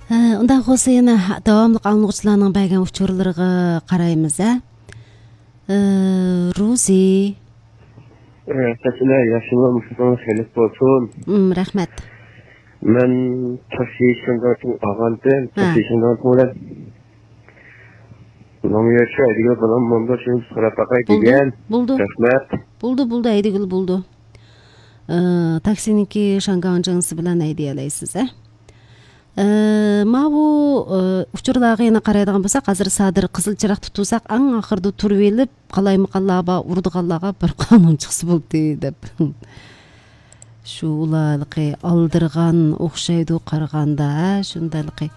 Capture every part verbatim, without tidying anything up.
Ындай болсо эне давамлык аңлоочулардын байган учурларга карайбыз. э Рузи. Тасына яшылам ушундан келип болсун. Рахмат. Мен ташишыңдын агантын, ташишыңдан болот. Номерче айдыгы менен монда шул сурапакай деген. Булду. Рахмат. Булду, булду, айдыгыл булду. Э таксиники шанганжыңсы менен айдый алайсыз, э? Э мабу учурларга эне карайдыган болсок, азыр садыр кызыл чырак тутусак, аң акырды туруп элип, калаймыкаллаба урдугаллага bir канун чыксы болду деп. Шулалыкы алдырган окшойду карганда, шундайлыкы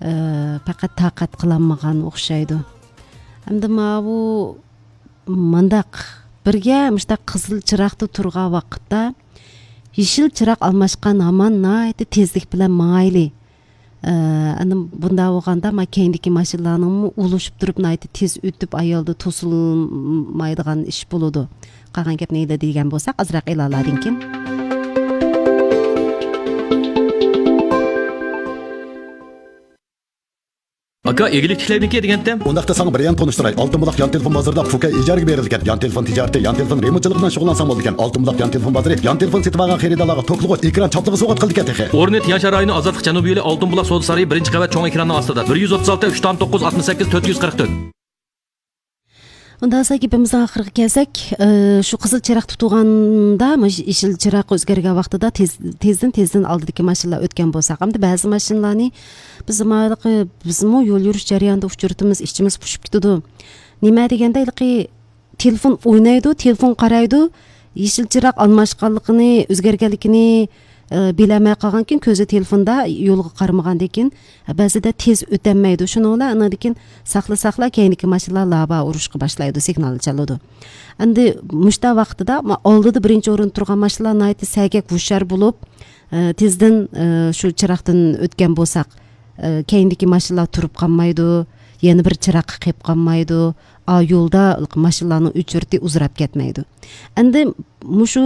э пакат такат кыламаган окшойду. Эмди мабу мындак бирге мыштак кызыл чыракты турган вакытта ишил чырак алмашкан аман найты тездик менен маайли. Анын бунда болгондо макендики машиналарнын улушуп туруп найты тез өтүп аялды тосулмайдыган иш болоду. Калган кеп нейде деген болсак, азыраак эли аладыңки. Aka egillik tikleybikke degende? Ondaqda sana bir yan tonuşturay. Altın bulaq yan telefon bazarda Fuka ijarga berilgan. Yan telefon ticareti, yan telefon remontçılıqdan şug'ullansam boldu ekan. Altın bulaq yan telefon bazarı, yan telefon setip algan xeridalarga to'qliq ekran chapligi so'gat qildi ekan texe. Ornet Yanshar rayoni Azatlık Janubiy yo'li Altın bulaq savdo saroyi birinchi qavat cho'ng ekranning ostida. bir yuz o'ttiz olti uch to'qson to'qqiz altmış sakkiz to'rt yuz qirq to'rt. Ondan sonra gepimizden ahırga kelsek, şu kızıl çırak tutuganda, işil çırak özgergen vaqtida tez, tezden tezden aldidagi mashinalar o'tgan bo'lsak, hamda ba'zi mashinalarni biz mayliqi bizmi yo'l yurish jarayonida uchurtimiz, ishchimiz pushib ketadi. Nima deganda ilqi telefon o'ynaydi, telefon qaraydi, ishil çırak almashganligini, o'zgarganligini bilemey kalgan kin közü telefonda yolga qarmagandan keyin ba'zida tez o'tolmaydi. Shuni bilan ana dekin saqla saqla keyingi mashinalar laba urushga boshlaydi, signal chaladi. Endi mushta vaqtida oldida birinchi o'rin turgan mashinalar nayti sagak hushar bo'lib, tezdan shu chiroqdan o'tgan bo'lsak, keyingi mashinalar turib qolmaydi, yana bir chiroq qilib qolmaydi. A yo'lda mashinalarning uchurti uzrab ketmaydi. Endi mushu